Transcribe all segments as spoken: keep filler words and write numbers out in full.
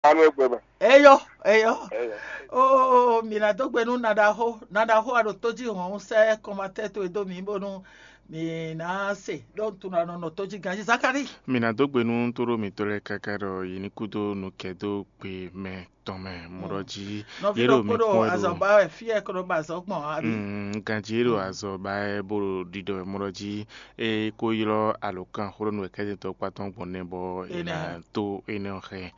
Anu egbe mɛ. Eyɔ, eyɔ. Eyɔ. Oo, mi ná dó gbe nú naɖaxó, naɖaxó a ɖo tó jí hɔn sɛ kɔmatɛ towe dó mi bónú mi ná se ɖó tunɔ nɔ tó jí ganjí Zakari. Mi ná dó gbe nú tóɖó mǐtɔn lɛ́ɛ káká ɖɔ yě ní kú dó nukɛ́ dó gbe mɛ tɔn mɛ mɔɖɔ jí. Nɔví yě ɖo ɖokpó mi ɖo kpɔ́n wɛ ɖo azɔ̌ ba wɛ fí e kó ɖo ba azɔ̌ gbɔn abi. Mm, ganjí yě ɖo azɔ̌ ba wɛ bó ɖo ɖiɖɔ wɛ mɔɖɔ jí. É kó ylɔ́ alǒkanxwlónú wɛ̌kɛ́tɛ́ntɔ́ kpá tɔn gbɔn nɛ́ bɔ è Énɛ́. Nǎ tó énɛ́ ɔ́ xá ɛ.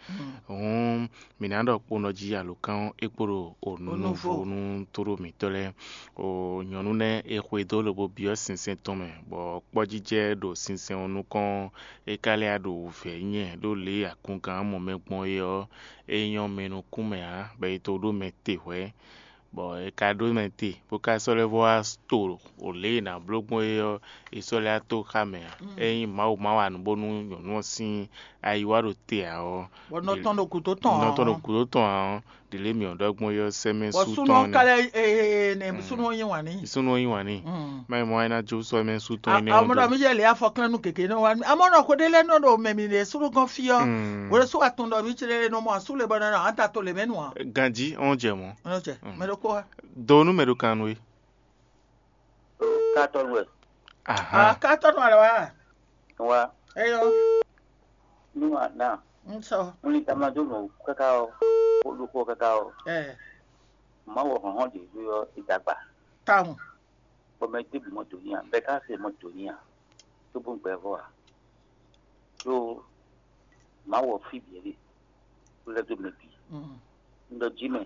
Hǔn mǐ ná ɖɔ kponɔ jí alǒkan ɔ́ é kpo ɖo Onúvo. Onúvo nú tóɖó mǐtɔn lɛ́ɛ. O nyɔ̌nu nɛ́ è xwedó lobo byɔ́ sinsɛn tɔn mɛ, bɔ kpɔ́jijɛ ɖo sinsɛn ɔ́ nukɔn ɔ́, é ka lɛ́ wá ɖo wǔvɛ́ nyɛ ɖó lě e akungán mɔ mɛ gbɔn é ɔ́, é nyɔ́ mɛ nukún mɛ ǎ, bɔ è to ɖó mɛ te hwɛ̌. Bɔ è ka ɖó mɛ te, bó ka sɔ́ lɛ́ vɔ́ wá to o lě e è nǎ bló gbɔn é ɔ́, è sɔ́ lɛ́ wá tó xá mɛ ǎ. Ényí Mawu ma wa nǔ bónú nyɔ̌nu ɔ́ sín ayi wá ɖo te ǎ ɔ́, Bɔ nɔ tɔn ɖo gǔdo tɔn nɔ tɔn ɖo ǎ. Gǔdo tɔn ǎ ɔ́, ɖě lě mǐ ɔ́ ɖɔ gbɔn é ɔ́ sɛ́ mɛ Bɔ sú súnú tɔn ɔ́ ka lɛ́ nɛ́. Súnú ɔ́ nyi wǎn n'i. Súnú ɔ́ nyi wǎn n'i. Má nyí mɔ wá ná jó sɔ́ mɛ sú tɔn énɛ́ ɔ́ Amɔɖɔ dó. Mi yɛ lě afɔklɛ́nnu gěgé nɔ wá. Amɔɖɔ xwe ɖé lɛ́ɛ nɔ ɖo mɛ mi ɖe súnú gɔ́n fí ɔ́. Hwelesú atɔn ɖɔ mí clé nɔ mɔ asú le bɔ nɔ anta to lě mɛ nu ǎ. Ganjí ɔ́n jɛ mɔ̌. Nɔ jɛ mɛ ɖokpó wá. Do nú mɛ ɖo kan nú we. Katɔnu wɛ. Aha. Katɔnu alɔ wa. Wa. Eyɔ. Nú àná. Ŋsɔ. Wọ́n ní tamado nù káká ɔ, ó lókó káká ɔ. Ɛ. Má wọ hɔn hɔn ɖě ɔ ìdàgbà. Táwọn. Bɔmɛ dé bù mọ́ tòní à, bɛ ká se mọ́ tòní à. Tó bó ń gbɛ vɔ à. Tó má wọ fí bìɛ lé. Tó lɛ tó mɛ bì. Mm. Ń lọ jí mɛ.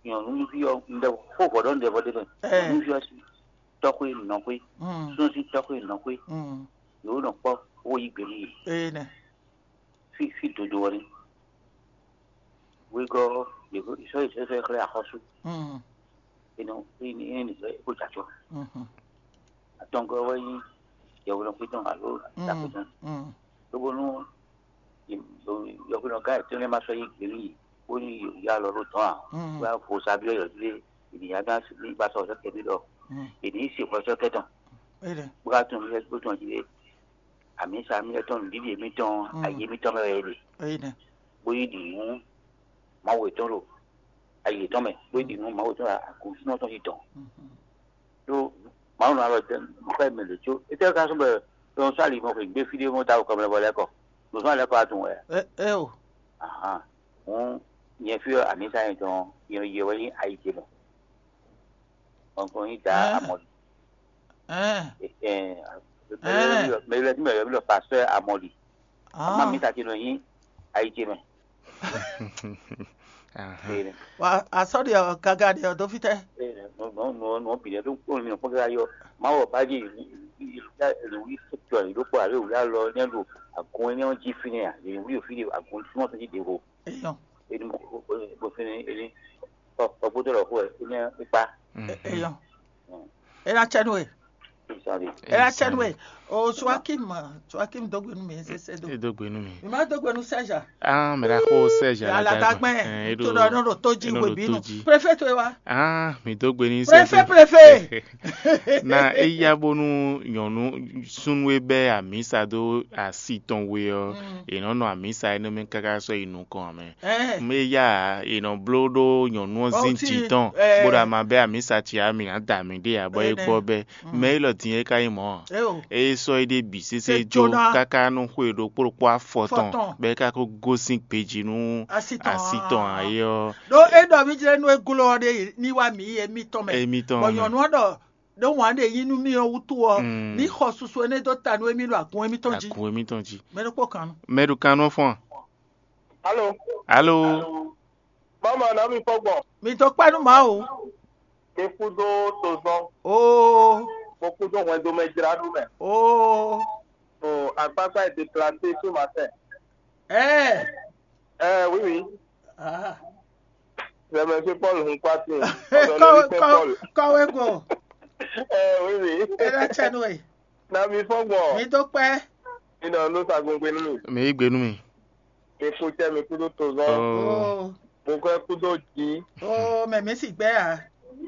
Nyɔ̌nuví ɔ́, un ɖe xó vɔ̌ ɖɔ un ɖe vɔ ɖé mɛ. Ɛ. Nyɔ̌nuví ɔ́ sín tɔ́xwé nɔxwé, Mm. Súnnu sín tɔ́xwé nɔxwé, Mm. Yǒ nɔ kpɔ́, wó yí gbe nú yě. Eye nɛ. Fí fí dodo ɔ́ ní. Wegɔ́ ɔ́, yě sɔ́ yě sɛ́ xlɛ́ axɔ́sú. Mm. Énɛ́ énɛ́ nǐ sɛ́ é kó jɛ acɔ. Mhm. Atɔngɔ́ wɛ nyí yɛhweɖɔxwé tɔn alo Mm. Dǎkpé tɔn. Mm. Lóbónú yɔhweɖɔgán yětɔn lɛ́ɛ ma sɔ́ yí gbe nú yě, bónú yě yá alɔ ɖó dɔ̌n ǎ. Mm. Bó yá vo sa byɔ́ yɔ̌dílé, yě ní yá dán ní ba sɔ́ sɔ́ kɛ́ ɖɔ, Mm. Yě ní se hwɛ sɔ́ kɛ́ tɔn. Eye nɛ. Bó ká tunwun mì bó tunwun jí lé. Amǐsa mì tɔn nǔɖiɖi mǐtɔn Mm. Ayé mǐtɔn mɛ wɛ é ɖe. Eye nɛ. Bó yí ɖi nǔ Mawu yětɔn ɖo ayi yětɔn mɛ, bó yí ɖi nǔ Mawu yětɔn ɖo agǔnsúnɔ tɔn jí dɔn. Mhm. Ɖó Mawu nɔ alɔ dɛn xɔ mɛ lě có. Étɛ́ ka sɔ́ bɔ ɖɔn sɔ́ ali mɔ xweyǐgbe fí ɖé mɔ ta kɔmɛ vɔ lɛ́ kɔ. Ɖo sɔ́ lɛ́ kɔ wá tunwun wɛ. Ɛ ɛ o. Ahan. Hǔn nyɛ fí ɔ́ amǐsa nyɛ tɔn nyɛ yɛ wɛ nyí ayi ce mɛ. Ɔnkɔ nyí da Ɛ. Amɔli. Ɛ. Ɛ ɛ mɛ lɛ mɛ lɛ mɛ lɛ pasteur Amɔli. Ah. Ama mi ta ce nɔ nyí ayi ce mɛ. Ahan. Ee, Wa asɔ́ ɖe ɔ́ gaga ɖe ɔ́ dó fítɛ́. Ee, nɔ nɔ nɔ nɔ bǐ lɛ ɖó kpɔ́n mi kpɔ́n ká yɔ. Má wɔ bá dzi lu yi tɔ yi ɖó kpɔ alo wǔ alɔ nyɛ ɖo agun nyɛ jí fínɛ́ a. Yě wúlò fí ɖe agun súnmọ́ fí ɖe ho. Eyɔn. Eni mo mo fínɛ́ eni kɔ kɔ gbódò lɔ xó ɛ eni kpa. Eyɔn. Ena tsɛ nú e. Sorry. Ena tsɛ nú e. O Joachim, Joachim dó gbe nú mi sese do. E dó gbe nú mi. Mi ma dó gbe nú Serge. Ah, mɛ ɖaxó Serge. Aladagbɛ. Aladagbɛ. Ɛ, eɖo To ɖɔ nɔ ɖo tó jí eɖo ɖo webinu. Tó jí. Préfet to e wa. Ah, mi dó gbe ní Préfet, Serge. Préfet. Na eya bónú nyɔ̌nu súnnu e bɛ́ amǐsa dó asi tɔn we ɔ́, Mm. È nɔ nɔ amǐsa énɛ́ mɛ káká sɔ́ yi nukɔn ǎ mɛ. Ɛ. Mɛ ya è nɔ bló ɖó nyɔ̌nu ɔ́ Ɔ, zín ti, jǐ tɔn, ɛ. Bó ɖo ama bɛ́ amǐsa ce ǎ, mǐ ná da mǐ ɖe ǎ, bɔ é Énɛ́. Gbɔ bɛ́. Mm. Mɛ élɔ́ din é ka nyí mɔ̌ ǎ. É o. É sɔ́ é ɖe bǐ sésé É jó jóná. Káká nɔ xwe ɖokpó ɖokpó afɔ tɔn, Fɔ tɔn. Bɔ é ka ko gosín gbejí nú Asi tɔn asi tɔn ǎ. Ǎ é ɔ́. Ɖó é ɖɔ mí jlɛ́ nú é glɔ́ ɔ́ ɖe ní wá mǐ yɛ mítɔn mɛ. Émítɔn Bɔ mɛ. Nyɔ̌nu ɔ́ ɖɔ ɖó wǎn ɖe yí nú mí ɔ́ wútu ɔ́, Mm. Ní xɔ susu énɛ́ dó ta nú émí ɖo agun émítɔn jí. Agun émítɔn jí. Mɛ ɖokpó kan nú. Mɛ ɖo kan nɔ fɔ́n a? Alo. Alo. Mama na mi fɔ gbɔn. Mi dó kpá nú Mawu. Mi kú dó tozɔn. Oo. Mo kú dó hwɛndo mɛ jlá ɖu mɛ. Oo. O akpakpa est déplacé ce matin. Ɛ. Ɛ oui oui. Ah. C'est monsieur Paul Hunkwati. Kɔwe kɔwe kɔwe go. Ɛ oui oui. Ɛ na tsɛ nú ɛ. Na mi fɔ gbɔn. Mi dó kpɛ. Mi nɔ nú sagun gbé nú mi. Mi yí gbe nú mi. Mi kú tɛ mi kú dó tozɔn. Oh. Oh. Mo kọ́ kú dó jí. Oh, mɛ mi sì gbɛ ya.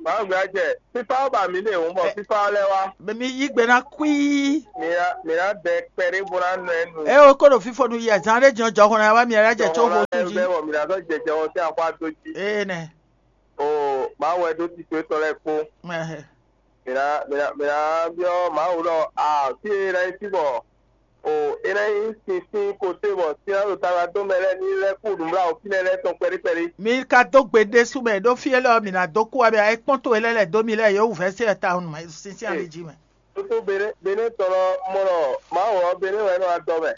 Báwo gbé jɛ? Fífá ɔ́ ba mǐ ɖe hǔn bɔ fífá ɔ́ lɛ́ wá. Bɛ mi yí gbe ná kwíí. Mǐ ná mǐ ná bɛ kpɛɖé bó ná nɔ ɛ nu. É o kó ɖo fífo nu yɛ zán ɖé jɔ jɔhɔn ná wá mi ɛlá jɛ có xo sú jí. Bɛ bɔ mǐ ná sɔ́ jɛjɛ ɔ́ sín axwá dó jí. Ee nɛ. O Mawu wɛ ɖó tito étɔn lɛ́ɛ kpó. Mǐ ná mǐ ná mǐ ná byɔ́ Mawu ɖɔ a fí e ná nyí fí bɔ o é ná nyí sinsin kote bɔ sin ná ɖo taɖa dó mɛ lɛ́ɛ ní lɛ́ kú nǔbláwǔ fínɛ́ lɛ́ɛ tɔn kpɛɖí kpɛɖí. Mi ka dó gbe ɖésú mɛ ɖó fí élɔ́ mǐ ná dó kú wɛ mɛ ayé kpɔ́n towe lɛ́ɛ lɛ̌ dó mi lɛ́ɛ yě wú vɛ̌ se ta nǔ sinsin ali jí mɛ. Tótó Bené Bené tɔn lɔ mɔ ɖɔ Mawu ɔ́ Bené wɛ nɔ adɔ mɛ.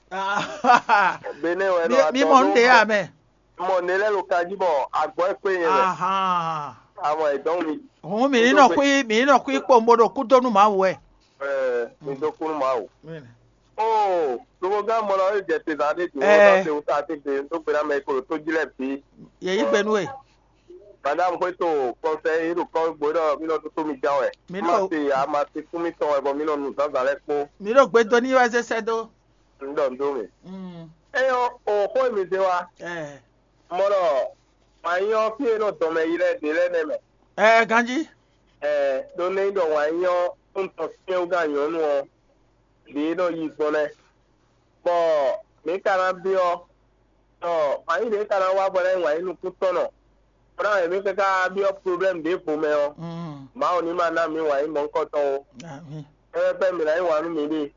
Bené wɛ nɔ adɔ Mi mɔ nǔ ɖě ya mɛ. Mɔ nɛ lɛ́ɛ ɖo kan jí bɔ agbɔ̌ e kpé nyɛ mɛ. Ahan. Amɔ ɛ dɔn mi. Hǔn mǐ ní nɔ xwí mǐ ní nɔ xwí kpowun bó ɖo kú dó nú Mawu wɛ. Ɛɛ mi dó kú nú Mawu. Oo lobogán mɔ lɔ é jɛ te zan ɖé dǒ Ɛɛ. Ɔ́ se wúta tete dó gbe ná mɛ e ko ɖo tó jí lɛ́ɛ bǐ. Yě yí gbe nú we. Madame xwéto kɔnsɛyi ɖo kɔn gbe ɖɔ mí nɔ toto mi gán wɛ. Mí Ma nɔ se ya ma se kún mítɔn wɛ bɔ mí nɔ nu zǎnzǎn lɛ́ɛ kpó. Mí ɖo gbe dó n'i wɛ zé sɛ́ dó. Un ɖɔ nǔ dó mì. Mm. Eye ɔ́, o xó e mi zé wá, Ɛɛ. Mɔ ɖɔ wǎn yí ɔ́ fí e nɔ dɔn mɛ yi lɛ́ɛ ɖě lɛ́ɛ nɛ́ mɛ. Ɛɛ ganjí. Ɛɛ ɖó nɛ́ nyí ɖɔ wǎn yí ɔ́ un tɔn syɛ́nwúgán nyɔ̌nu ɔ́, ɖě e nɔ yi gbɔn nɛ́. Bɔ mǐ ka ná byɔ́ ɖɔ wǎn yí ɖě ka ná wá bɔ ná nyí wǎn yí nukúntɔ́nnɔ, bó ná wɛ mǐ káká byɔ́ problɛ́mu ɖěvo mɛ ɔ́, Mm. Mawu ní ma ná mǐ wǎn yí mɔ̌hunkɔtɔn ó. Amín. Énɛ́ pɛ́ mǐ ná yí wǎn nú miɖée.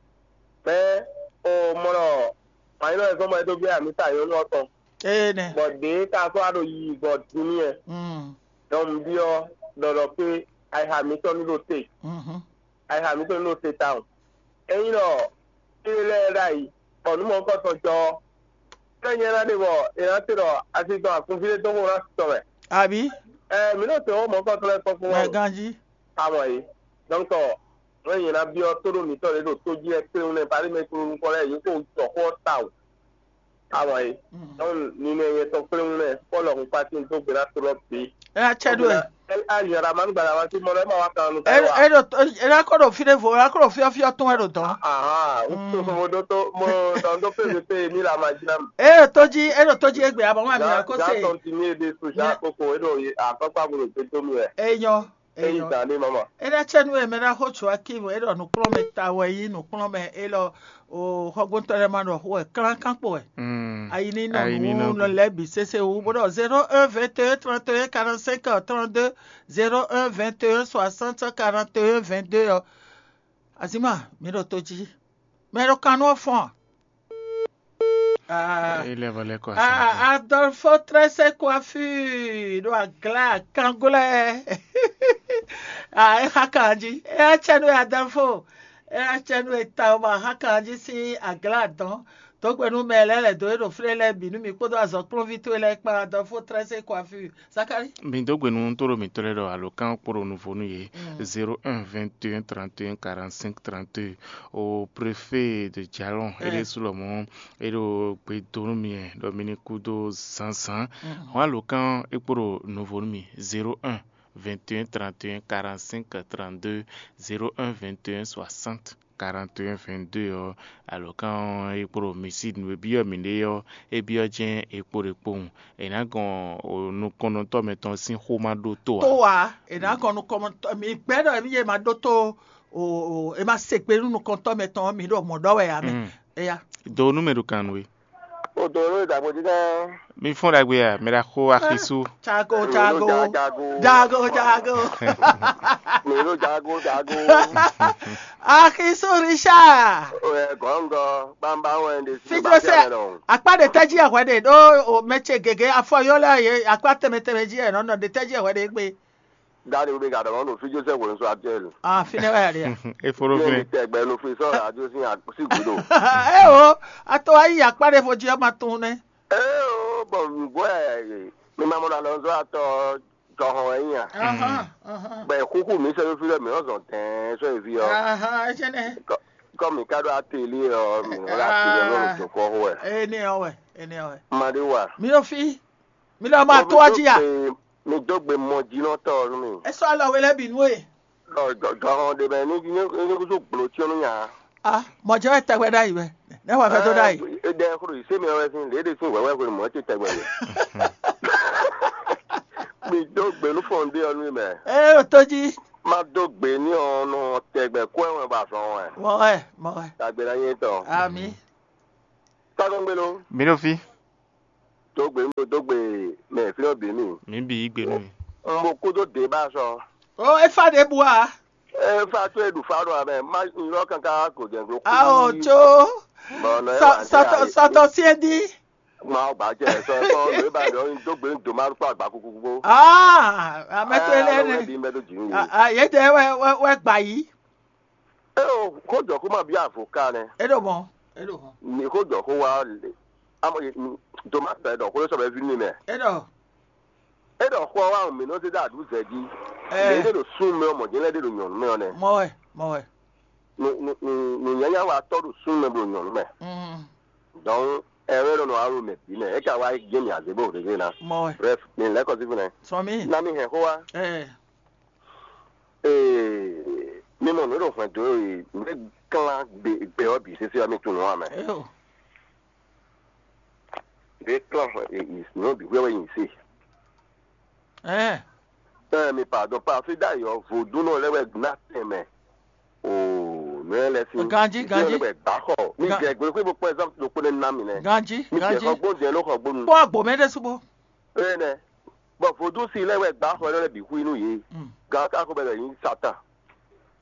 Mɛ̌ o mɔ ɖɔ wǎn yí nɔ wɛ zɔ́n bɔ é dó byɔ́ amǐ ta nyɔ̌nu ɔ́ tɔn. Ee nɛ. Bɔ ɖě ka sɔ́ wá ɖo yiyi gbɔn din n'i wɛ. Mm. Donc un byɔ́ ɖɔ ɖɔ fí ayixa mǐtɔn ní ɖo te. Mhm. Ayixa mǐtɔn ní ɖo te tawun. Ényí ɖɔ fí lɛ́ɛ ɖ'ayǐ, bɔ nǔ mɔ̌hunkɔtɔn jɔ ɔ́, é nyɛ ná ɖe bɔ è nǎ se ɖɔ asi tɔn akunví ɖé dó xó ná tɔn mɛ. Abǐ? Ɛɛ mǐ nɔ se xó mɔ̌hunkɔtɔn lɛ́ɛ kpɔ́n fún Mɛ wɛ. Ganjí. Amɔ é. Donc nǔ e nyɛ ná byɔ́ tóɖó mǐtɔn ɖě ɖo tó jí lɛ́ɛ kpéwún nɛ́ paɖí mɛ e kpló nukɔn lɛ́ɛ yě ko jɔ xó ɔ́ tawun. Awa é. Donc ninɛ nyɛ tɔn kplé ŋu nɛ Pɔ́lu hun kpátin dó gbe ná tlɔ́ bǐ. É ná cɛ ɖó e. Ayi ara manu gbala wá sí mɔ lɛ ma wá kan nu. É é ɖo é ná kó ɖo fínɛ́ vo é ná kó ɖo fyɔ́fyɔ́ tún wɛ ɖo dɔn. Ahan n tó mo ɖó tó mo dɔn dó pé mi pé mi la ma jí ná mi. É ɖo tó jí é ɖo tó jí égbé abɔ ŋu àmì ná kó se. Tɔn ti mi e de so ja koko e ɖo akɔkpa bo ɖo gbé tó mi wɛ. É nyɔ. Eyi dan ɖé mama. É ná cɛ nú we mɛ ná xó Joakim é ɖɔ nǔkplɔ́nmɛ ta wɛ nyí nǔkplɔ́nmɛ élɔ́ o xɔgbóntɔ́ lɛ́ɛ ma ɖɔ xó wɛ klánkan kpo wɛ. Ayi ní nɔ nǔ lɛ́ɛ bǐ sésé wú bó ɖɔ zéro un vingt et un trente et un quarante-cinq trente-deux, zéro un vingt et un soixante quarante et un vingt-deux ɔ́. Azima mi ɖo tó jí. Mɛ ɖo kan nú ɔ́ fɔ́n a? Ah, Il est volé quoi. Ah, Adolfo Tresse Coiffure ɖo agla kangolɛ. Ah, é xa kan jí. É á cɛ nú Adolfo. É á cɛ nú eta o ma xa kan jí sín agla dɔn. Dǒgbɛ́nú mɛ lɛ́ɛ lɛ̌ dó é ɖo flé lɛ́ɛ bǐ nú mi kpódó azɔ̌kplɔ́nví towe lɛ́ɛ kpán Adolfo Tresse Coiffure. Zakari. Mi dó gbe nú tóɖo mǐtɔn lɛ́ɛ ɖɔ alǒkan kpo ɖo nuvo nú yě. Zéro un vingt et un trente et un quarante-cinq trente-deux. O préfet de Jalon é ɖésú lɔmɔ̌ é ɖo gbe dó nú mi wɛ ɖɔ mi ní kú dó zǎnzǎn. Hɔn alǒkan é kpo ɖo nuvo nú mi. Zéro un vingt et un trente et un quarante-cinq trente-deux, zéro un vingt et un soixante quarante et un vingt-deux ɔ́, alǒkan ɔ́ é kpo ɖo mi sí nǔ e byɔ́ mǐɖée ɔ́, é byɔ́ jɛ́n é kpo ɖe kpowun. È nǎ gɔn nukɔnnɔtɔ́ mɛtɔn sín xó ma ɖótó ǎ. Tó ǎ, è nǎ gɔn nukɔnnɔtɔ́ mi gbɛ́ ɖɔ émí yě ma ɖótó o è ma se gbe nú nukɔntɔ́ mɛtɔn ɔ́, mi ɖo mɔ̌ ɖɔ wɛ ǎ mɛ. Éya. Do nú mɛ ɖo kan nú we. O do nú ìdàgbò dídá. Mi fún ɖagbe ya, mɛ ɖa xó axisú. Jago jago jago jago. Mi ɖo jago jago. Axisú Richard. Ɛ gɔngɔ bamba wɛn de si. Fijose akpa ɖe tɛji ɛhwɛ ɖe ɖo o mɛtse gege afɔ yɔ lɛ ye akpa tɛmɛ tɛmɛ ji ɛ nɔ nɔ ɖe tɛji ɛhwɛ ɖe gbe. Dali wo be ka dɔgɔn ɖo fi Joseph wo nso actuel. Ah, fi ne wɛ ya. E foro fi ne. Tɛgbɛ no fi sɔ radio sin si gudo. Eh o, ato ayi akpa ɖe fo ji ɔma tun ne. Eh o, bɔn gbɔ mi ma mɔ na lɔ nso atɔ jɔhɔn wɛ nya. Bɛ kuku mi sɛ fi lɛ mi ɔzɔn tɛn sɔ evi ɔ. Aha, ejene. Kɔ mi ka do ateli ɔ mi wala ateli ɔ lɔ sɔkɔ wɛ. Ene ɔ wɛ, ene ɔ wɛ. Madi wa. Mi o fi. Mi lɔ ma to aji ya. Mi dó gbe mɔjínɔtɔ nú mi. É sɔ́ alɔ we lɛ́ɛ bǐ nú we. Gɔhɔn ɖe mɛ ní ní kúsú gblo tí ó nú nya. Ah, mɔjɛ wɛ tɛgbɛ ɖ'ayǐ wɛ. Ne wà fẹ́ tó ɖ'ayǐ. Ɖɛ kúrò yìí sẹ́mi ọ̀rẹ́ sin léde sin wẹ́wẹ́ kúrò mọ́ ti tẹ̀gbẹ́ mi. Mi dó gbe nú fún ɖe ɔ́ nú mɛ. Ée ɖo tó jí. Má dó gbe ní ɔnɔ tɛgbɛ kó ɛwɛn ba zɔn wɛ. Mɔ wɛ, mɔ wɛ. Tagbe ná nyɛ tɔn. Ami. Tágɔngbelo. Mi ɖo fí. Dó gbe mi ɖo dó gbe mɛ fí ɔ́ bǐ mi. Mi bǐ yí gbe nú mi. Un bo kúdó dě ba sɔ. Ó, é fá ɖěbǔ ǎ. É fa tó e ɖu fa ɖo amɛ. Má nyɔ kankan gǒjɛnglo kú. Ao tso. Bɔn nɔ é Sɔ- wà ní sɔtɔ ayé. Sɔtɔ siɛdi. Má gbà jẹ sɔ kɔ lóye ba dɔ dó gbe dó má kpɔ àgbà kúkú kúkú. Aa amɛtɔ ilé Alo ne. Wɛ bí mbɛ tó jì mí. Yédè wɛ wɛ wɛ gbà yìí. É o kó jɔ kó má bí avocat nɛ. É ɖo mɔ. É ɖo mɔ. Ní kó jɔ kó wá lè. Amɔ dó má sɛ dɔ kó ló sɔ bɛ vi nínú mɛ. É ɖɔ. É ɖɔ xɔ wa mi nɔ zé dá àdúgbò zɛ jí. Ɛ. Lè é ɖo sún mɛ ɔmɔ jẹ́ lɛ ɖe ɖo nyɔ̀nú mɛ ɔnɛ. Mɔ wɛ mɔ wɛ. Nùnyanya wa tɔ ɖo sún mɛ ɖo nyɔ̀nú mɛ. Mm. Donc ɛ wɛ nɔ nɔ alo mɛ bí mɛ é ka wá jẹ́ mi àzébò ɖé na. Mɔ wɛ. Bref mi lɛ kɔ sí fún ɛ. Sɔmi. Na mi hɛn xó wa. Ɛ. Ee, mi mɔ nǔ e ɖo hwɛndo e nǔ e glán gbe gbe ɔ́ bǐ sésé ɔ́, mi tunwun ǎ mɛ. Eo. Nǔ e glán hwɛ e nǔ bǐ hwɛ wɛ nyi se. Ɛɛ. Ɛɛ, mi pardon, parfait d'ailleurs, vodúnnɔ lɛ́ wɛ ná tɛnmɛ. Oo, nǔ e lɛ sín. Ganjí, vodúnnɔ ganjí. Lɛ́ wɛ gbǎ xɔ. Mi Gan- jɛ gbolo xwé bó kpɔ́n example ɖokpó nɛ́ ná mi nɛ́. Ganjí, Mi jɛ ganjí. Xɔ gbɔn jɛ ló xɔ gbónu. Kpɔ́n agbo mɛ ɖésú bó. Énɛ́. Bɔ vodúnsi lɛ́ɛ wɛ gbǎ xɔ énɛ́ lɛ́ɛ bǐ hu nú yě. Mm. Gǎn ka xo bɛ lɛ nyí Satan.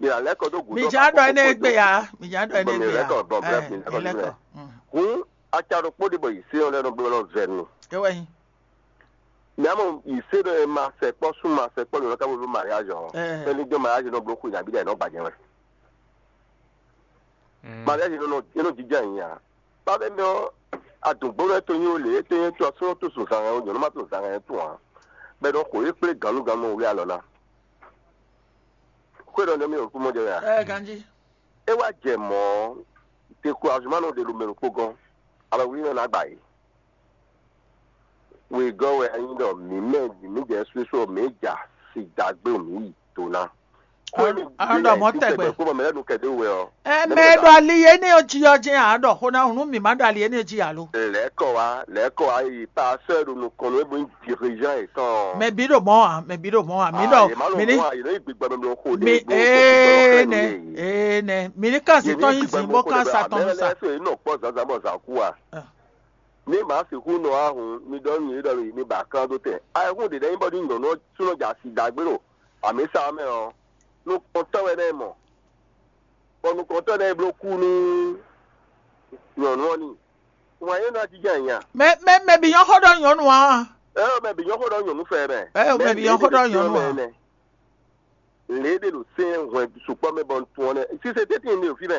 Yě ná lɛ́ kɔ dó gǔdo. Mi já ɖɔ énɛ́ gbé ya, mi já ɖɔ énɛ́ gbé ya. Bɔ mi lɛ́ kɔ bɔ brɛ́ mi lɛ́ kɔ mi lɛ́. Hǔn acɛ ɖokpó ɖé bɔ yě sé ɔ́ lɛ́ nɔ bló nɔ vɛ nu. É wɛ nyí. Mi amɔ yě sé ɖɔ ma sɛkpɔ́ sún ma sɛkpɔ́ lǒ ká bó bló mariage ɔ́. Ɛ. Fɛ́ ní dó mariage nɔ bló xwe nabí ɖɛ nɔ gbajɛ wɛ. Mariage nɔ nɔ é nɔ jija nyi a. Ba bɛ mɛ ɔ́, adǔngbónɔ e to nyi o lě e to nyɛ to asúnɔ to zozan hɛn o nyɔ̌nu ma to zan hɛn to ǎ. Bɔ è nɔ xo yě kplé gannúgannú wlí alɔ ná. Xwé ɖɔ nɛ mì ɖo kúmɔ jɛ wɛ a? Ɛ ganjí. É wá jɛ mɔ̌, découragement nɔ ɖe ɖo mɛ ɖokpó gɔ́n, alɔ wlí nɔ ná gba yě. Wegɔ́ wɛ é nyí ɖɔ mǐ mɛ mǐ jɛ susu mǐ ja si dagbe mǐ yi do ná. Arɔn ɖɔ mɔ tɛgbɛ. Kó bɔ mɛ lɛ́ nu kɛdé wɛ ɔ́. Ɛ mɛ e ɖo ali énɛ́ ɔ́ jí ɔ́ jɛ́n ǎ ɖɔ xó ná nú mǐ má ɖo ali énɛ́ jí alo. Lɛ̌kɔ wá lɛ̌kɔ wá yi pasteur ɖo nukɔn nú ébó nyí dirigeant yětɔn. Mɛ bǐ ɖo mɔ̌ ǎ, mɛ bǐ ɖo mɔ̌ ǎ, mǐ ɖɔ mǐ ní. Yě má nɔ mɔ yě ní gbigbɔ mɛ bló xo mi ní ee nɛ ee nɛ mǐ ní kán azǐn tɔn nyi zǐn bó kán sa tɔn nú sa. Lɛ́ sɔ yě nɔ kpɔ́ zǎnzǎn bɔ zǎn kú a. Ní màá sixú nɔ ahun mi ɖɔ nú yě ɖɔ mi ba klán dó tɛn. Ayɛhún ɖě ɖɛ́ nyí bɔ ní nyɔ̌nu ɔ́ súnɔ jɛ asi dǎgbé ɖo amǐsa ɔ́ mɛ ɔ́, nukɔntɔ́ wɛ nɛ́ mɔ, bɔ nukɔntɔ́ nɛ́ bló kú nú nyɔ̌nu ɔ́ n'i. Wǎn é ná jínjɔ́n ayǐ a? Mɛ mɛ mɛ bǐ nyɔ́ xó ɖɔ nyɔ̌nu ǎ. Ɛ mɛ bǐ nyɔ́ xó ɖɔ nyɔ̌nu fɛ mɛ. Ɛ mɛ bǐ nyɔ́ xó ɖɔ nyɔ̌nu ǎ. Lě ɖe ɖo sɛ́n hwɛn sukpɔ́ mɛ bɔ un tunwun ɔ́ nɛ́. Sise tɛ́ntin ɖe ɖo fí mɛ,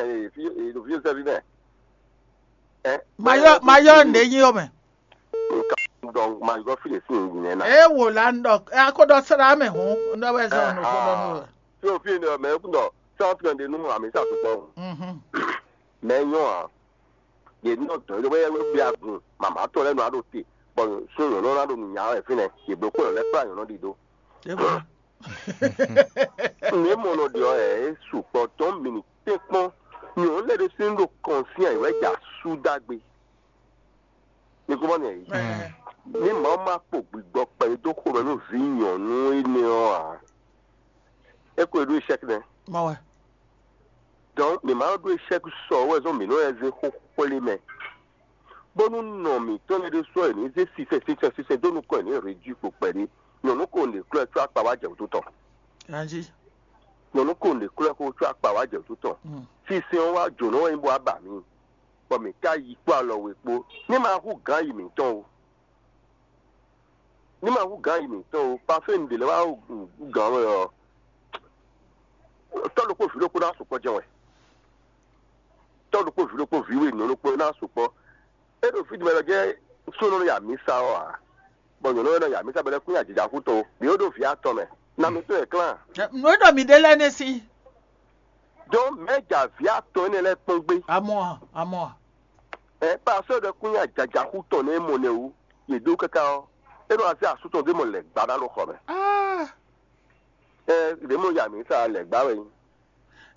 ɖo fí sɛ́ fí mɛ. Ɛ. Mayɔ mayɔ ɖě nyi ɔ́ mɛ. Dɔn mayɔ fi ɖe sin nyinɛ na. E wò la ŋdɔ akɔdɔ sra mɛ hɔn ŋdɔ wɛ zɔn nɔ fɔ dɔ nɔ. Fi o fi ne mɛ kun dɔ sɔn fi ne nu ami sa sukpɔ. Mhm. Mɛ nyɔ a. Ye nɔ dɔ ye wɛ wɛ bi agun mama tɔ lɛ nɔ ado te. Bɔn sun yɔn nɔ na do nya wɛ fi nɛ ye blo ko lɛ kpa yɔn nɔ di do. E wò. Ne mɔ nɔ di ɔ ɛ sukpɔ tɔn mini tɛnkpɔn nyɔn lɛ de sin do kɔn sin ayi wɛ ja su dagbe. Mi ko mɔ nɛ yi. Ni Mawu ma kpo gbigbɔ kpɛɖé dó xomɛ nú vǐ nyɔ̌nu énɛ́ ɔ́ ǎ. É ko e ɖó échec nɛ́. Mɔ wɛ. Donc mi ma ɖó échec sɔ wɛ zɔn mǐ nɔ lɛ́ zé xó xwlé mɛ. Bónú nɔ mǐtɔn lɛ́ ɖésú ɔ́ è nǐ zé sisɛ sisɛ sisɛ dó nukɔn è nǐ réduit kpo kpɛɖé. Nyɔ̌nu ko ɖě klɔ́ ɛ có akpa wá jɛ wǔtu tɔn. Ganjí. Nyɔ̌nu ko ɖě klɔ́ ɛ có có akpa wá jɛ wǔtu tɔn. Mm. Sinsɛn ɔ́ wá jǒnɔ wɛ nyí bó wá ba mǐ. Bɔ mǐ ka yi kpó alɔ we kpó. Ní ma hú gǎn yi mǐtɔn o. Ní ma hú gǎn yi mǐtɔn o. Pafé un ɖě lɛ́ wá hú gǎn wɛ ɔ́, tɔ́ ɖokpó vǐ ɖokpó ná sukpɔ́ jɛ́n wɛ. Tɔ́ ɖokpó vǐ ɖokpó vǐ we nǔ ɖokpó ná sukpɔ́. É ɖo fí ɖi mɛ lɔ jɛ́n súnnu ya mǐ sa ɔ́ ǎ. Bɔ nyɔ̌nu wɛ nɔ ya mǐ sa bɔ é kún nyi ajija kú tɔn o. Mǐ ó ɖó vǐ atɔn mɛ. Na mi tɔn e klán. Nǔ e ɖɔ mǐ ɖe lɛ́ɛ nɛ́ sín. Dɔn mɛ̌ ja vǐ atɔn énɛ́ lɛ́ɛ kpɔ́n gbé? Amɔ a, amɔ a. Ɛ pasɔ ɖɔ kún nyi ajajaxú tɔn nɛ mɔ nɛ wú. Yě dó káká ɔ́, é nɔ azé asú tɔn dó mɔ lɛ̌ gbá ná ɖo xɔ mɛ. Ah. Ɛ ɖě mɔ ya mǐ sa lɛ̌ gbá wɛ nyí.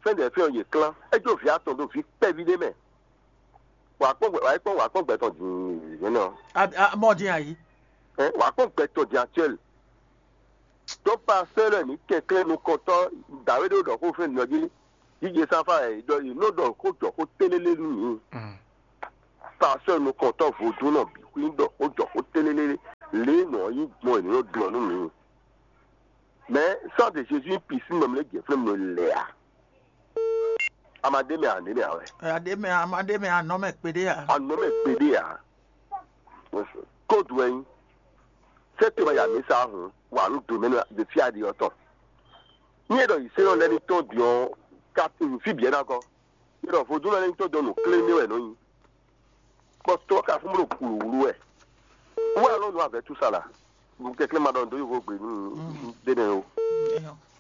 Fɛ́n ɖɛ fɛ́n ɔ́ yě klán. É jó vǐ atɔn ɖó vǐ kpɛví ɖé mɛ. Wǎ kpɔ́n gbɛ wǎ kpɔ́n wǎ kpɔ́n gbɛ tɔn dǐn yě nɔ. A- a- Mɔ din ayi. Ɛ wǎ kpɔ́n gbɛ tɔn dǐn actuel. Tɔ́ pasɛ́ lɛ́ɛ ní kɛnklɛ́n nukɔntɔ́ dǎwe ɖé ɖɔ xó fɛ́n nɔ jí. Jijɛ sanfá ɛ ɖɔ yě nɔ ɖɔ xó jɔ xó télélé nú mǐ. Pasɛ́ nukɔntɔ́ vodúnnɔ bǐ xwí ɖɔ xó jɔ xó télélé lě nɔ yí gbɔn è nɔ ɖɔ nú mǐ. Mɛ sán de Jésus pǐ sín nɔ mlé jɛ flɛ́m nɔ lɛ a? Amadé mɛ ané mɛ awɛ. Aɖe mɛ, amadé mɛ, anɔ mɛ kpeɖé a? Anɔ mɛ kpeɖé a? Kódu wɛ nyí. Sɛ́ te ma ya mǐ sa hǔn wa nú do mɛ nú de fí aɖi ɔ́ tɔn. Ní e ɖɔ yi sɛ́ ɔ́ lɛ́ ní tɔn din ɔ́, ka fí bǐ ná gɔ́. Ní e ɖɔ vodún lɛ́ ní tɔn dɔn nǔ klé ní wɛ nɔ nyi. Kpɔtɔ ka fún bó ɖo wǔlúwúlú wɛ. Wú alɔ nú avɛ túsala. Kɛklɛ́ ma ɖɔ nǔ dó yovo gbe nú dé nɛ o.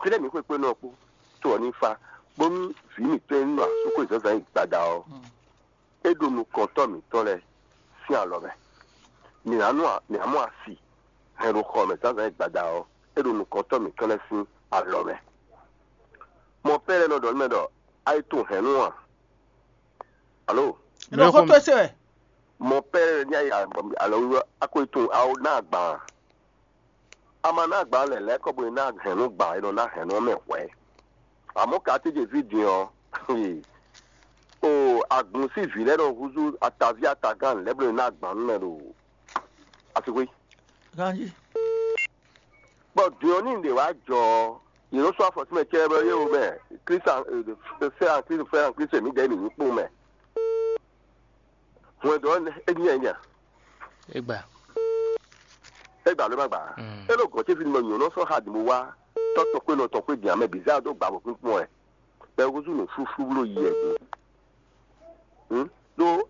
Fínɛ́ mǐ xwekpé nɔ kpó to ɔ́ ní fa bónú vǐ mǐtɔn e nɔ asúkwe zǎnzǎn yi gbada ɔ́, é ɖo nukɔntɔ́ mǐtɔn lɛ́ɛ sín alɔ mɛ. Mǐ ná nɔ mǐ ná mɔ asi hɛn ɖo xɔ mɛ zǎnzǎn yi gbada ɔ́, é ɖo nukɔntɔ́ mǐtɔn lɛ́ɛ sín alɔ mɛ. Mɔ pɛ́ lɛ́ɛ nɔ ɖɔ nú mɛ ɖɔ: "A yi tunwun hɛ̌nnu a?" Alo? Mɛ xó tó se wɛ. Mɔ pɛ́ ní ayé alɔwíwá a ko yi tunwun a ná agban a? A ma ná agban lɛ lɛ́ɛ kɔ bo yi ná hɛ̌nnu gban e nɔ ná hɛ̌nnu ɔ́ mɛ hwɛ̌. Amɔ̌ ka tɛ́ jɛ fí din ɔ́, o agun sín vǐ lɛ́ɛ nɔ húzú ataví atagán lɛ́ɛ bó nɔ ná agban nú mɛ ɖo asixwé. Ganji. Bɔ din ɔ́ ní ɖě wá jɔ ɔ́, yě nɔ sɔ́ afɔ sín mɛ cɛ́ bɔ yé wo mɛ Kristu fɛ́ an Kristu fɛ́ an Kristu mǐdɛɛ mǐ nyí kpó mɛ. Hwɛndo ɔ́ é nyí ɛnya. Egba. Egba ló má gbà. Mm. É ɖo gɔ̌n ce fínú mɛ nyɔ̌nu sɔ́ xa dǐn bó wá tɔ́ tɔn xwé nɔ tɔn xwé din amɛ bǐ zá dó gbǎ bɔ kpínkpɔ́n ɛ. Bɛ́ húzú nǔ flúflú bló yi ɛ din. Hǔn ɖó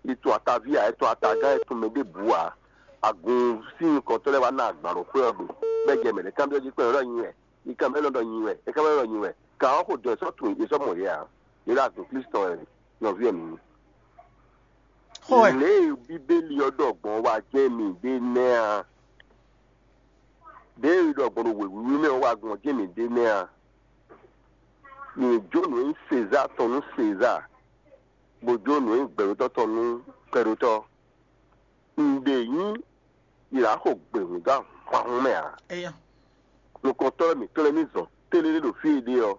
è tun ataví ǎ, è tun atagán, è tun mɛ ɖěbǔ ǎ. Agun sín nukɔntɔ́ lɛ́ɛ wá ná agban ɖo xwé ɔ́ gbe, bɔ é jɛ mɛ ɖě kanbyɔ́ jí kpɛ́n ɖɔ nyi wɛ, yi kanbyɔ́ nɔ ɖɔ nyi wɛ, é kanbyɔ́ ɖɔ nyi wɛ. Kan ɔ́ xo dɔn è sɔ́ tunwun è sɔ́ mɔ yě ǎ. Yě ɖo agun Klísu tɔn wɛ nɔví ɛ mǐ. Xó wɛ. Lě e Bíbélì ɔ́ ɖɔ gbɔn wá jɛ́n mǐ ɖe nɛ́ a? Ɖěe è ɖɔ gbɔn ɖo wěwíwí mɛ ɔ́ wá gbɔn jɛ́n mǐ ɖe nɛ́ a? Mǐ jó nǔ e nyí Sezaa tɔn nú Sezaa, bó jó nǔ e nyí gbɛɖótɔ́ tɔn nú gbɛɖótɔ́. Nǔɖé nyí yi ná xo gběhún dó ahwanhún mɛ ǎ. Eya. Nukɔntɔ́ lɛ́ɛ mǐtɔn lɛ́ɛ ní zɔn télélé ɖo fí e ɖe ɔ́.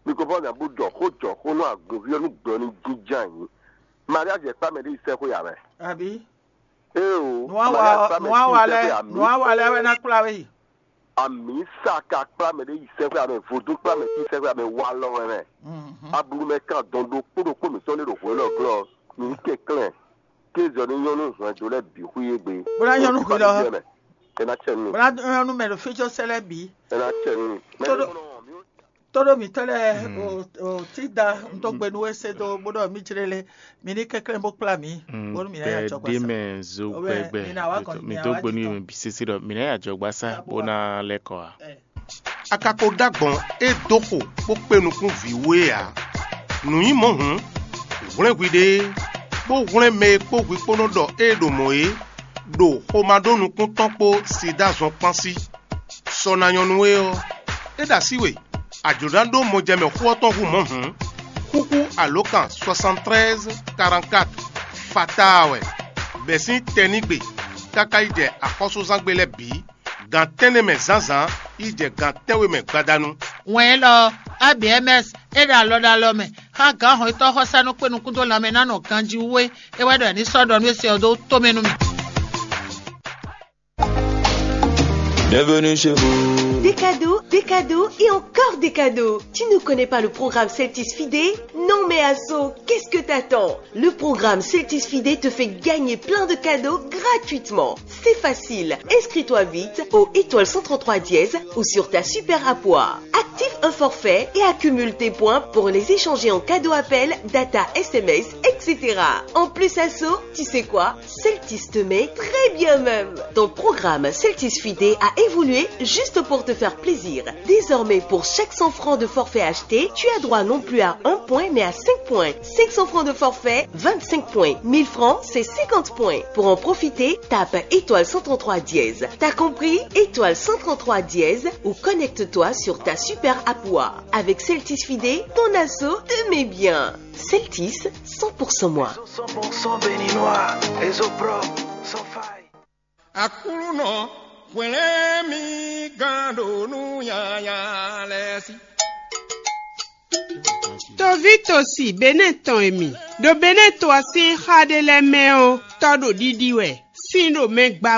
Mi ko fɔ́n nya bó ɖɔ xó jɔ xó nú agunví ɔ́ nú gbɛ ɔ́ ní jínjɔ́n ayǐ. Maria jɛ kpá mɛ ɖé yi sɛ́xwé ǎ wɛ. Àbí? Éeǒ, nǔwawa Maria kpá mɛ nǔwawa tí lɛ́ɛ sɛ́xwé àmì. Nǔwawa lɛ́ɛ wɛ ná kplá we yi. Àmì sa ka kplá mɛ ɖé yi sɛ́xwé amɛ, vodún kplá mɛ tí sɛ́xwé amɛ wá lɔ wɛ mɛ. Ablu mɛ kan dɔn ɖokpó ɖokpó mǐtɔn ɖé ɖo hwě lɔ glɔ́. Mǐ kɛnklɛ́n. Kézɔ ní nyɔ́ nú hwɛndo lɛ́ɛ bǐ xwí égbé. Bó ná nyɔ́ nú hwǐ lɔ. Ɛ ná cɛ nú. Bó ná nyɔ́ nú mɛ ɖo fíjɔ́sɛ́ lɛ́ɛ bǐ. Ɛ ná cɛ nú. Tó ɖó tó ɖó mǐtɔn lɛ́ɛ o o tí da un tó gbe nú we se dó bó ɖɔ mí jlé lé mí ní kɛnklɛ́n bó kplá mǐ. Bónú mǐ ná yà jɔ gbasa. Mɛ zo gbɛgbɛ. Mǐ ná wá gɔn mí tó gbe nú mi bǐ sésé ɖɔ mǐ ná yà jɔ gbasa bó ná lɛ́ kɔ a. A ka ko ɖó agbɔ̌n e dó xo bó kpé nukún vǐ we ǎ. Nǔ nyí mɔ̌ hǔn, hwlɛ́n hwiɖée, bó hwlɛ́n mɛ e kpó hwi kpó nɔ ɖɔ ée ɖo mɔ̌ é, ɖo xomado nukún tɔn kpó sida zɔn kpán sí. Sɔ ná nyɔ́ nú we ɔ́, é ɖo así we, a jlǒ ná ɖó mɔjɛmɛ xó ɔ́ tɔn hú mɔ̌ hǔn, xúxú alǒkan soixante-treize quarante-quatre fataa wɛ, bɛ̌ sín tɛnígbe káká yi jɛ axɔ́súzángbe lɛ́ɛ bǐ. Gan tɛ́nnɛ mɛ zǎnzǎn yi jɛ gan tɛ́nwe mɛ gbadanu. Wɛn élɔ́ ɔ́, A B M S é ɖo alɔ ɖo alɔ mɛ xá gǎnhɔn e tɔ́ xɔsánú kpé nukún dó lanmɛ ná nɔ ganjí wú é. É wɛ ɖɔ è ní sɔ́ ɖɔ nú é se ɔ́ dó tomɛ nú mì. Bienvenue chez vous. Des cadeaux, des cadeaux et encore des cadeaux. Tu ne connais pas le programme Celtis Fidé ? Non mais Asso, qu'est-ce que t'attends ? Le programme Celtis Fidé te fait gagner plein de cadeaux gratuitement. C'est facile. Inscris-toi vite au étoile cent trente-trois dièse ou sur ta super app. Active un forfait et accumule tes points pour les échanger en cadeau appel, data, S M S, et cetera. En plus, Asso, tu sais quoi ? Celtis te met très bien même. Ton programme Celtis Fidé a évolué juste pour te faire plaisir. Désormais, pour chaque cent francs de forfait acheté, tu as droit non plus à un point, mais à cinq points. Cinq cents francs de forfait, vingt-cinq points. Mille francs, c'est cinquante points. Pour en profiter, tape étoile cent trente-trois dièse. T'as compris ? Étoile cent trente-trois dièse ou connecte-toi sur ta super app. Avec Celtis Fidé, ton Asso te met bien. Celtis, cent pour cent moi. Cent pour cent béninois, réseau propre, sans faille. Aklúnɔ, hwlɛ́n mì Gán ɖo nú nyanya lɛ́ɛ sí. Toví tosi Benɛ́ɛ tɔn e mi ɖo Benɛ́ɛ to ɔ́ sín xá ɖé lɛ́ɛ mɛ ɔ́, tɔ́ ɖo ɖiɖi wɛ, sín ɖo mɛ gba wɛ.